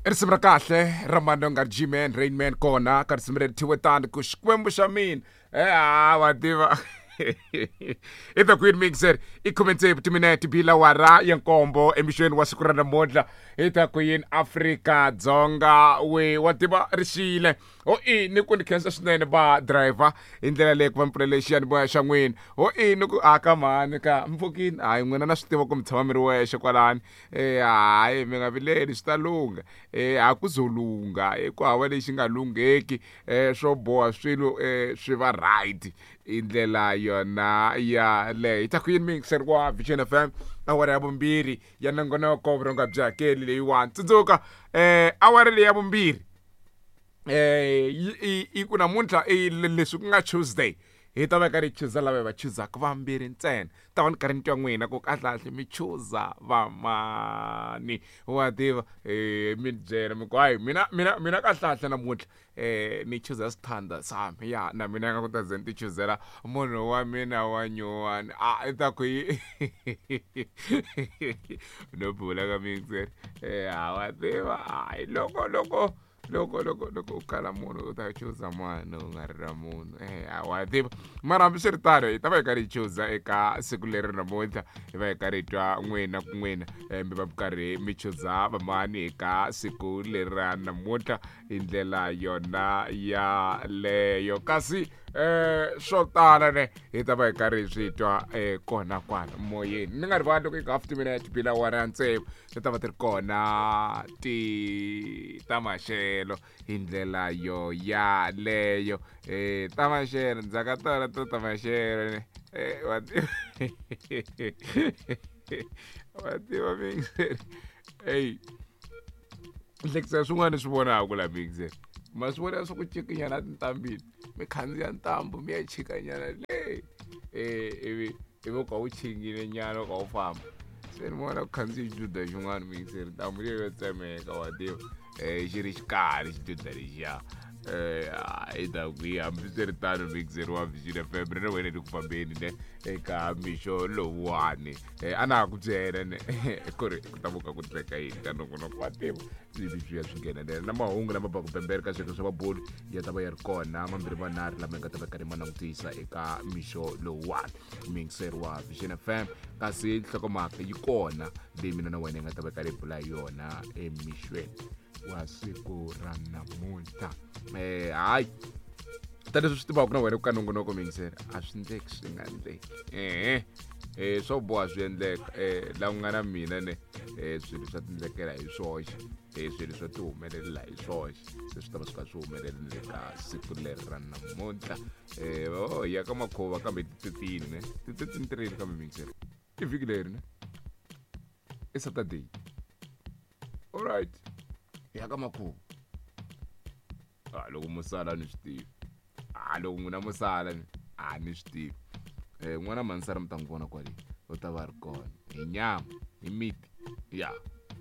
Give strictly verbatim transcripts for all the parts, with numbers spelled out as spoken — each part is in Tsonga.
Risimu ra kahle ra Mandonga G-Man Rainman kona ka risimu leri thyiwe tani ku Xikwembu xa mina. Eh ah wa tiva. I the Queen Mixer i khume tsevu timinete bila wara ya nkombo emixweni wa siku ra namuntlha hi ta Queen Afrika Dzonga we wa tiva ri xile ho i ni ku ni khensa swinene va driver hi ndlela leyi ku va mi pfulele xiyanimoya xa n'wina ho i ni ku aka mhani ka mpfukini hayi n'wina na swi tiva ku mi tshama mi ri wexe kwalani eh hayi mi nga vileli swi ta lungha eh a ku zo lungha ku hava lexi nga lungheki eh swo boha swilo eh swi va right i ndlela yona yaleyo hi ta ku yini mixer wa Vision F M awara ya vumbirhi ya nongonoko vurhonga byi hakeli leyiwani tsundzuka eh awara leyi ya vumbirhi eh i ku namuntlha i leswi ku nga Tuesday hi ta va karhi hi chuza lava hi va chuzaka vambirhi ntsena ta va ni karhi ni twa n'wina ku kahlekahle mi chuza vamani wa tiva eh mi byela mi ku hayi mina mina mina kahlekahle namuntlha eh ni chuza sithanda sami ya na mina nga ku ta ze ni ti chuzela munhu wa mina wa nyuwani a i ta ku yi no bula ka mixer eh wa tiva hayi loko loko loko loko loko u kala munhu u ta chuza mwana u nga ri ra munhu eh wa tiva mara hambiswiritano hi ta va hi karhi hi chuza eka siku leri namuntlha hi va hi karhi hi twa n'wina ku n'wina mi va mi karhi mi chuza vamani eka siku leri ra namuntlha hi ndlela yona yaleyo kasi eh swo tala ne hi ta va hi karhi hi swi twa eh kona kwala moyeni ni nga rivali loko hi ka fifty minutes bila wara ya tsevu ti ta va ti ri kona ti ta maxelo hi ndlela yo yaleyo eh ta maxelo ndzhaka tona to ta maxelo ne eh wa wa tiva mixer ey hlekisa swin'wana swi vonaka la mixer ma swi vona swa ku cikinyana tintambini mi khandziya ntambu mi ya chikanyana le eh ivi ivi u ka wu chingile nyana u ka wu famba se ni vona ku khandziya xiduda xin'wana mixer ntambu leyo yo tsemeka wa tiva eh xi ri xikarhi xiduda lexiya eh i ta ku yi hambiswiritano mixer wa Vision F M ri na wena ri ku fambeni ne eka mixo lowuwani eh a na ha ku byela ne ku ri ku ta vuka ku tleka yini ka nongonoko wa tiva ivi swi ya swi nghenelela na mahungu lama baka pembere ka swilo swa mabulu ya ta va ya ri kona mambirhi manharhu lama hi nga ta va karhi ma langutisa eka mixo lowuwani mixer wa Vision F M kasi nhlokomhaka yi kona leyi mina na wena hi nga ta va karhi hi bula hi yona emixweni wa siku ra namuntlha eh hayi ta leswi swi tivaka na wena ku ka nongonoko mixer a swi ndleki swi nga ndleki eh eh swo boha swi endleka eh la ku nga na mina ne eh swilo swa tindlekela hi swoxe eh swilo swa ti humelela hi swoxe se swi ta va swi kha swi humelela ka siku leri ra namuntlha eh oh ya ka makhuva kambe ti thirteen ne ti thirteen three kambe mixer i vhiki leri ne i Saturday all right ya ka makhuva ah loko musala ni swi tivi ah loko n'wina musala ni a ni swi tivi eh n'wana mansara mi ta n'wi vona kwale u ta va ri kona hi nyama hi miti ya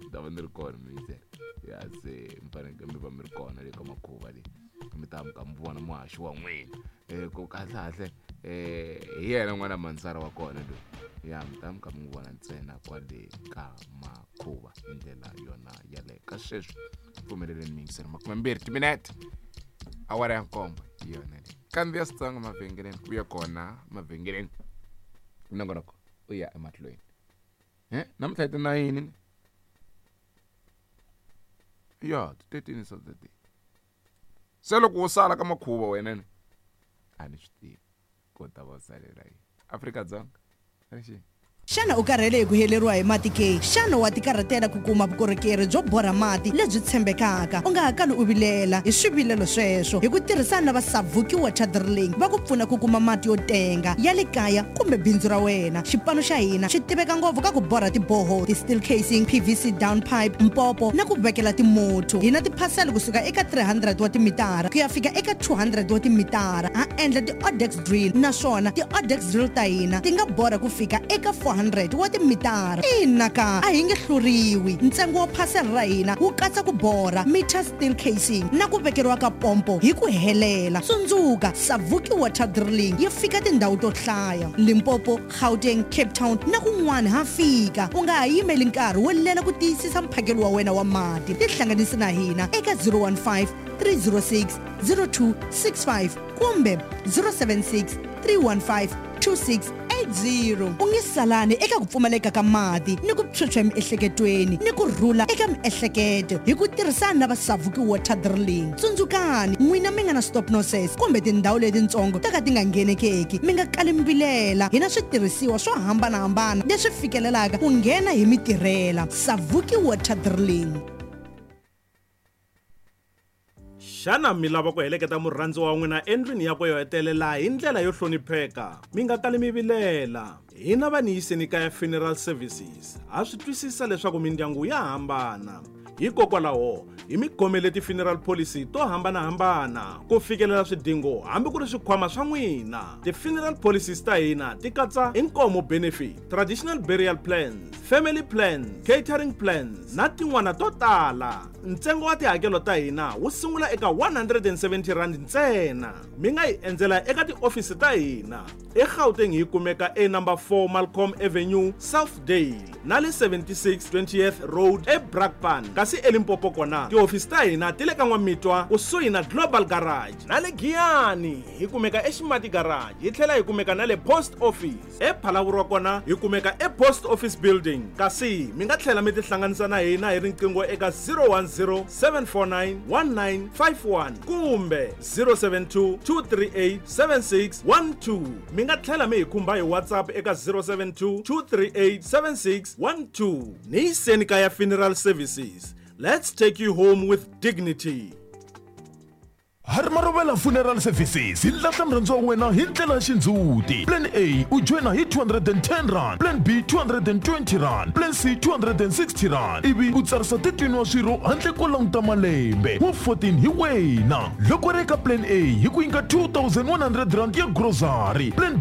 mi ta va ni ri kona mixer ya se mi fanekele mi va mi ri kona le ka makhuva leyi mi ta mi ka mi vona muhaxi wa n'wina eh ku kahlekahle eh hi yena n'wana mansara wa kona loyi ya mi ta mi ka mi n'wi vona ntsena kwale ka makhuva hi ndlela yona yaleyo ka sweswi pfumeleleni mixer makumembirhi timinete awara ya nkombo hi yona leyi kandziya switsongo mavhengeleni u ya kona mavhengeleni nongonoko u ya emahlweni eh namuntlha hi ti nine ya ti thirteen Saturday se loko wo sala ka makhuva wena ni a ni swi tivi ko ta va salela yini Afrika-Dzonga rixini. Xana u karhele hi ku heleriwa hi mati ke? Xana wa tikarhatela ku kuma vukorhokeri byo borha mati lebyi tshembekaka? U nga ha kali u vilela hi swivilelo sweswo hi ku tirhisana na va Savuki Water Drilling va ku pfuna ku kuma mati yo tenga ya le kaya kumbe bindzu ra wena. Xipano xa hina xi tiveka ngopfu ka ku borha tiboho, ti-steel casing, P V C down pipe, mpopo na ku vekela timotho. Hi na tiphasela kusuka eka three hundred wa timitara ku ya fika eka two hundred wa timitara. Ha endla ti-Odex drill naswona ti-Odex drill ta hina ti nga borha ku fika eka four four hundred wa timitara. Ina ka, a hi nge hluriwi. Ntsengo wa phasela ra hina wu katsa ku borha, meter steel casing na ku vekeriwa ka pompo hi ku helela. Tsundzuka, Savuki Water Drilling yi fika tindhawu to hlaya: Limpopo, Gauteng, Cape Town na kun'wana ha fika. U nga ha yimeli nkarhi wo lela ku tiyisisa mphakelo wa wena wa mati. Tihlanganisi na hina eka zero one five three zero six zero two six five kumbe zero seven six three one five two six eight zero. U nge salani eka ku pfumaleka ka mati ni ku phyuphya emiehleketweni ni ku rhula eka miehleketo hi ku tirhisana na va Savuki Water Drilling. Tsundzukani, n'wina mi nga na stop nonsense kumbe tindhawu letitsongo to ka ti nga nghenekeki, mi nga kali mi vilela. Hi na switirhisiwa swo hambanahambana leswi fikelelaka ku nghena hi mitirhela. Savuki Water Drilling. Xana mi lava ku heleketa murhandziwa wa n'wina endlwini yakwe yo hetelela hi ndlela yo hlonipheka? Mi nga kali mi vilela. Hina va Niyiseni Kaya Funeral Services ha swi twisisa leswaku mindyangu ya hambana, hikokwalaho hi mi khomele ti-funeral policy to hambanahambana ku fikelela swidingo hambi ku ri swikhwama swa n'wina. Ti-funeral policies ta hina ti katsa inkomo benefit, traditional burial plans, family plans, catering plans na tin'wana to tala. Ntsengo wa tihakelo ta hina wu sungula eka one hundred and seventy rand ntsena. Mi nga hi endzela eka tiofisi ta hina eGauteng, hi kumeka e number four Malcolm Avenue, Southdale, na le seventy-six twentieth Road eBrakpan. Kasi eLimpopo kona tihofisi ta hina ti le ka N'wamitwa kusuhi na Global Garage, na le Giyani hi kumeka eXimati Garage, hi tlhela hi kumeka na le Post Office. ePhalaborwa kona hi kumeka ePost Office Building. Kasi mi nga tlhela mi tihlanganisa na hina hi riqingho eka zero one zero seven four nine one nine five one kumbe zero seven two two three eight seven six one two. Mi nga tlhela mi hi khumba hi WhatsApp eka zero seven two two three eight seven six one two. Niyiseni Kaya Funeral Services, let's take you home with dignity. Harmarovela Funeral Services hi lahla murhandziwa wa wena hi ndlela ya xindzhuti. Plan A, u joyina hi two hundred and ten rand, plan B two hundred and twenty rand, plan C two hundred and sixty rand, ivi u tsarisa thirteen wa swirho handle ko languta malembe wa fourteen hi wena. Loko ri eka plan A, hi ku nyika two thousand one hundred rand ya grocery, plan